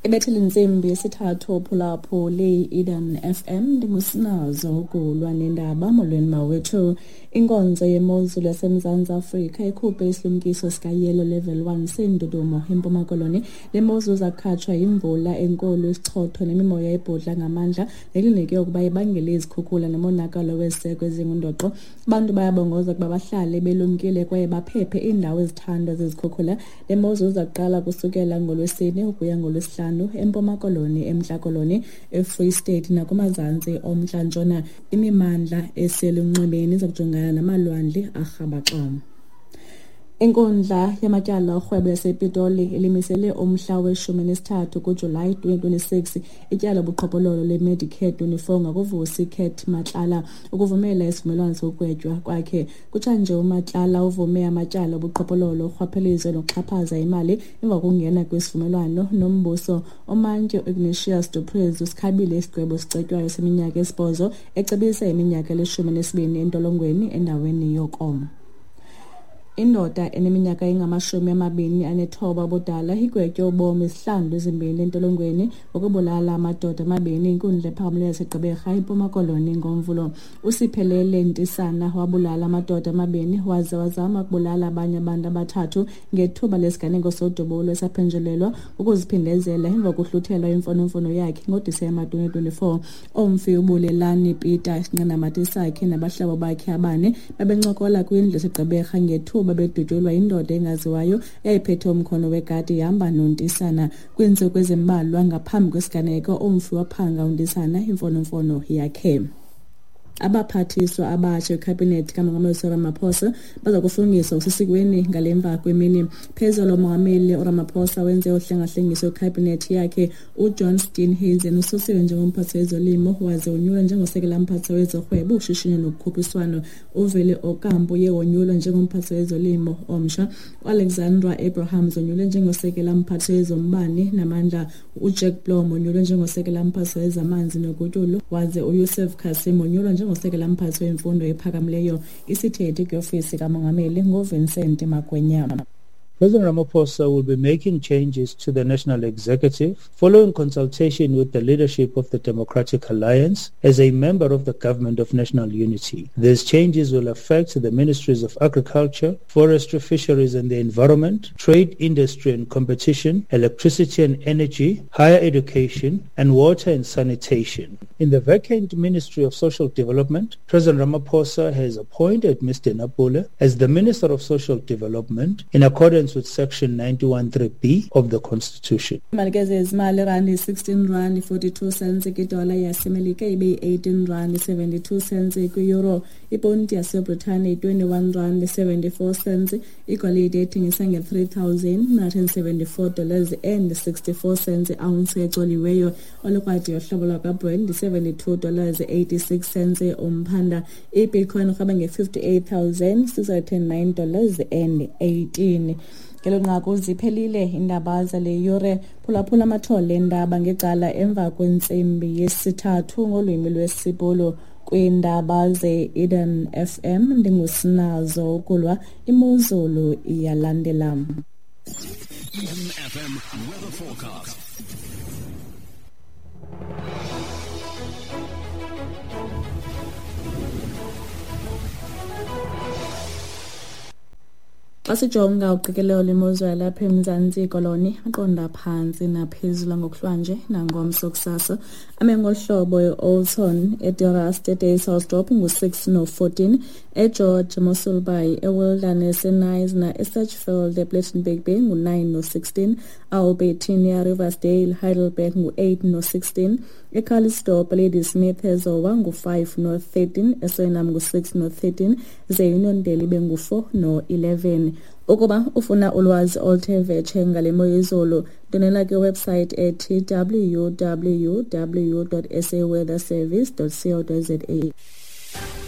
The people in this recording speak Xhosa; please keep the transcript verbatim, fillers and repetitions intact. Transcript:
Ibethile intsimbi yesithathu phulaphuli Eden F M, ndingusinazo ukulwa nendaba. Molweni mawethu. Inkonzo yemozulu yaseMzantsi Afrika ikhuphe isilumkiso sika-yellow level one seendudumo eMpuma Koloni. Le mozulu zakhatshwa yimvula enkulu, isichotho nemimoya ebhudla ngamandla nelinike ukuba ibangele izikhukhula nomonakalo weziseko ezingundoqo. Abantu bayabongoza ukuba bahlale belumkile kwaye baphephe iindawo ezithandwa zizikhukhula. Le mozulu iza kuqala kusukela ngoLwesine ukuya ngoLwesihlanu eMpuma Koloni, eMntla Koloni, eFree State nakumazantsi oMntla Ntshona. Imimandla eselunxwemeni iza kujongana namalwandle arhabaxa. Inkundla yamatyala orhwebo yasePitoli ilimisele umhla weshumi nesithathu kuJulayi twenty twenty-six ityala lobuqhophololo leMedicare twenty-four ngakuVusi Cat Matlala ukuvumela isivumelwano sokugwetywa kwakhe. Kutshanje uMatlala uvume amatyala obuqhophololo, urhwaphilizo nokuxhaphaza imali emva kokungena kwisivumelwano nombuso. Umantyi Ignatius Du Preez usikhabile isigwebo esicetywayo seminyaka esibhozo, ecebisa iminyaka elishumi nesibini entolongweni endaweni yoko. Indoda eneminyaka engamashumi amabini anethoba ubudala igwetywe ubomi izihlandlo ezimbini entolongweni ngokubulala amadoda amabini inkundla ephakamileyo yaseGqeberha eMpuma Koloni ngoMvulo. Usiphelele Ntisana wabulala amadoda amabini waze wazama ukubulala abanye abantu abathathu ngethuba lesiganeko sodubulo esaphenjelelwa ukuziphindezela emva kokuhluthelwa imfonomfono yakhe ngoDisemba twenty twenty-four. Omfi uBulelani Peter isinqandamathe sakhe nabahlobo bakhe abane babencokola kwindlu yaseGqeberha ngethuba bedutyulwa indoda engaziwayo eyayiphethe umkhono wegadi ihamba noNtisana. Kwiintsuku ezimbalwa ngaphambi kwesiganeko, umfi waphanga uNtisana imfonomfono yakhe. Abaphathiswa abatsha kwikhabhinethi kaMongameli Cyril Ramaphosa baza kufungiswa ngokusesikweni ngale mva kwemini. Phezulu uMongameli uRamaphosa wenze uhlengahlengiso kwikhabhinethi yakhe. UJohn Steenhuisen ususiwe njengomphathi wezolimo waze wonyulwa njengosekela mphathi wezorhwebo, ushishino nokukhuphiswano. UVele Ocampo uye wonyulwa njengomphathi wezolimo omtsha. UAlexandra Abrahams wonyulwe njengosekela mphathi wezombane namandla. UJack Blom wonyulwe njengosekela mphathi wezamanzi nogutyulo, waze uYusuf Cassim wonyulwa njengosekela mphathi wemfundo ephakamileyo. Isithethi kwiofisi kaMongameli nguVincent Magwenyama. President Ramaphosa will be making changes to the National Executive following consultation with the leadership of the Democratic Alliance as a member of the Government of National Unity. These changes will affect the Ministries of Agriculture, Forestry, Fisheries and the Environment, Trade, Industry and Competition, Electricity and Energy, Higher Education, and Water and Sanitation. In the vacant Ministry of Social Development, President Ramaphosa has appointed Mister Napule as the Minister of Social Development in accordance with Section ninety-one three B of the Constitution. Imali ke zezimali, randi sixteen rand forty-two cents kwidola yaseMelika, ibe eighteen rand seventy-two cents kwi-euro. Iponti yaseBritane twenty-one rand seventy-four cents. Igolide ethengisa nge-three thousand nine hundred seventy-four dollars and sixty-four cents ounce ecoliweyo. Olukrwadi yohlobo lwakwaBrent seventy-two dollars eighty-six cents umphanda. I-Bitcoin irhweba nge-fifty-eight thousand six hundred nine dollars and eighteen. Ngelo nqaku ziphelile iindaba zale yure. Phulaphula amathole endaba ngecala emva kwentsimbi yesithathu ngolwimi lwesiBhulu kwiindaba ze-Eden F M. Ndingusinazo ukulwa, imozulu iyalandela. Eden F M weather forecast. Xa sijonga uqikelelo lwemozulu yalapha eMzantsi Koloni, aqonda phantsi naphezulu ngokuhlwanje nangomso kusasa. Ame ngolu hlobo e-Olton, eDerast, eDaysdorp ngu-six no-fourteen, eGeorge, Mossel Bay, eWilderness, eKnysna, eSedgefield, ePlettenberg Bay ngu-nine no-sixteen, Albertinia, Riversdale, Heidelberg ngu-eight no-sixteen, eCalitzdorp, Ladysmith, eZowa ngu-five no-thirteen, eSuriname ngu-six no-thirteen, ze iUniondale ibe ngu-four no-eleven. Ukuba ufuna ulwazi oluthe vetshe ngale mo yezulu, ndonela kwiwebsite ethi w w w dot s a weather service dot co dot za.